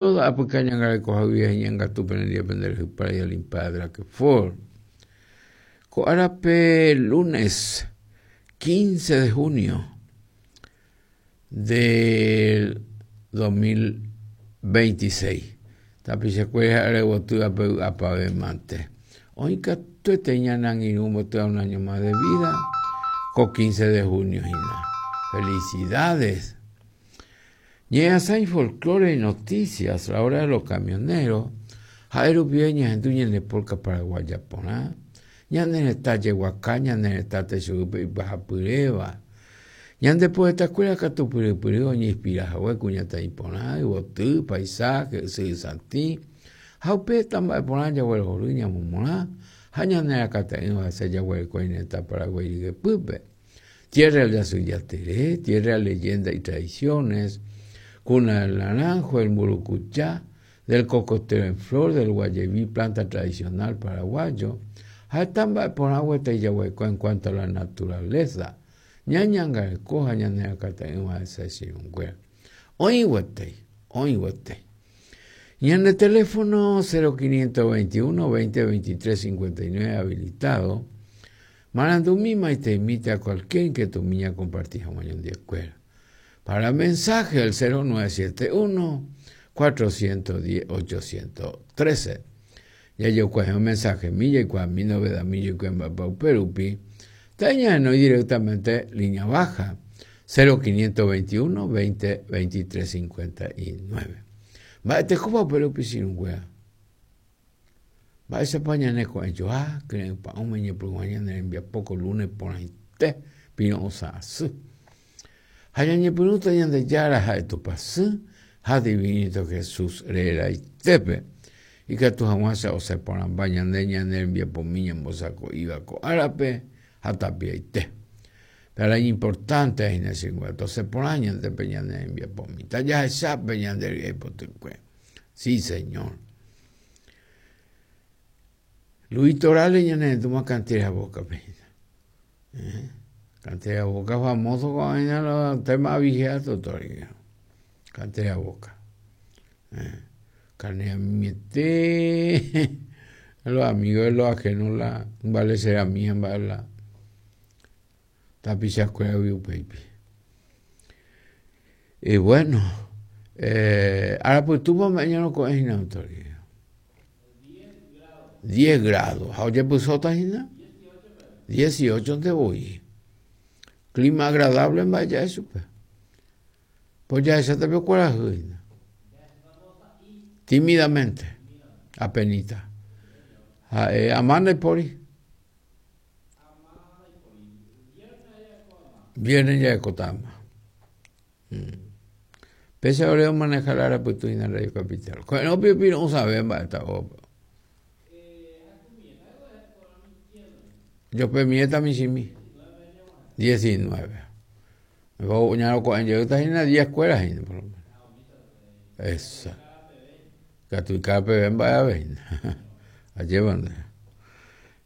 Toda apyka ñangarekoha guive heñangatu pene ndive pende rehypára y Olimpiada Drakefor. Ko árape lunes 15 de junio del 2026. Tapichakuéra ha'e yvotýva pe vy'apavẽ mante. Oĩ katuete ñane angirũ ombotýva un año más de vida ko 15 de junio hína. Felicidades! Ñe'ẽasãi Folklore y Noticias, La Hora de los Camioneros, ha'e rupive ñahendu ñane polka paraguaya porã, ñane retã jeguaka, ñane retã techoguýpe ipyahapyréva. Ñande poetakuéra katu pyrypyry oñeinspira hague kuñataĩ porã, yvoty, paisaje, ysyry satĩ, ha upe heta mba'e porã jaguerohory ñamomorã ha ñane rakate'ỹva hese jaguereko ñane retã Paraguái ryepýpe. Tierra del Yasy Jatere, Tierra de Leyenda y Tradiciones, Cuna del Naranjo, El Mburukucha, Del Cocotero en Flor, Del Guayeví, Planta Tradicional Paraguayo, ha heta mba'e porã gueteri jaguereko en cuanto a la naturaleza, ñañangareko ha ñanerakãte'ỹva hese che irũnguéra. Oĩ gueteri, oĩ gueteri. Ñane teléfono 0521 20 23 59 habilitado. Marandumi maiteimíta cualquier inquietudmi ñakomparti hag̃ua ñandekuéra. Para mensaje el 0971 410 813. Jajokuahe'õ mensajemi jaikuaami novedami jaikuaa mba'épa upe rupi, tañahenói directamente línea baja 0521 20 23 59. Mba'etekópa upe rupi che irũnguéra? Mba'éichapa ñane ko'ẽjoa kyre'ỹ pa'ũme ñepyrũha ñane rembiapo ko lunes porãite piro'ysã asy. Ha ñañepyrũta Ñandejára ha'e Tupãsy ha Divinito Jesús reraitépe, ikatu hag̃uáicha osẽ porãmba ñande ñane rembiapomi ñambosako'íva ko árape ha tapiaite. Pe ára iñimportánte hína che nguéra, tosẽ porã ñande pe ñane rembiapomi, tajahecha pe ñande ry'ái potykue. Sí, señor. Luis Torales ñanerendúma Cantera Boca-pe hína. Eh? Cantera Boca famoso ko'ág̃a los tema aviheato todavía. Cantera Boca. Eh? Carne mimiete. Los amigos de los ajenos la vale será mía mba'e la tapichakuéragui upéipi. Y bueno, eh, arapytúpa ome'ẽ ñaroko'ẽ hína autoridad. 10 grados. Ha ojepysóta hína? 18 nte voi. Clima agradable mba'e ja'e chupe. Pues jahecháta pe kuarahy hína. Tímidamente. Apenita. Ha'e ama ndaipóri. Viernes jarekóta ama. Mm. Péicha ore omaneha la arapytu hína Radio Capital. Ko'ẽrõ opiro'ysãve mba'éta ógape. Jopemiéta michĩmi. 19. Ñaroko'ẽ jeýta hína 10 kuéra hína por lo menos. Esa. Katu ikára peve mba'e ave hína. Ajépa nde.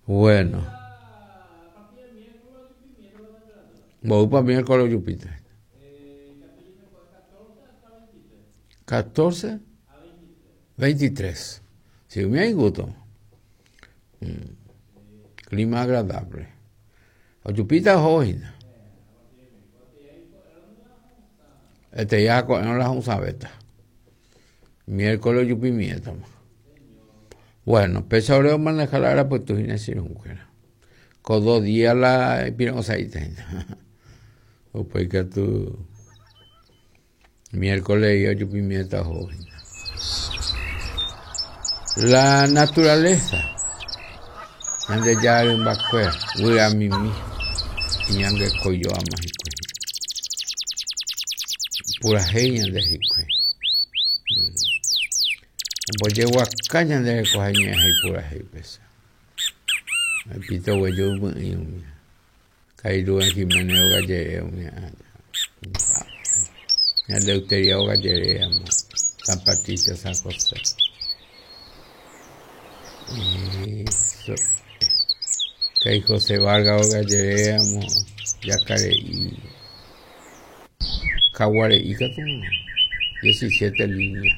Bueno. Mboýpa miércoles ojupíta? 14, 23. Si umi hay gusto. Mm. Clima agradable. Ojupíta oho hína. Este día ko'ẽrõ la hũsãvéta. Miércoles ojupimiétama. Bueno, péicha ore omaneha la arapytu hína che irũnguéra. Ko dos día la ipiro'ysã'íta hína. Upéi katu miércoles ojupimiéta oho hína. La naturaleza, Ñandejára rymbakuéra, guyramimi, iñangekojoáma hikuái. Purahéi ñande hikuái. Ombojeguaka ñande rekoha ñe'ẽ ha ipurahéi pesa. Pito gueju py'ỹi umi. Ka'i Rubén Jiménez óga jere umi Ñande Euteria óga jere amo San Patricio, San José. Eso. Ka'i José Vargas óga jere amo Jacare'i. Kaguare'i katu 17 línea.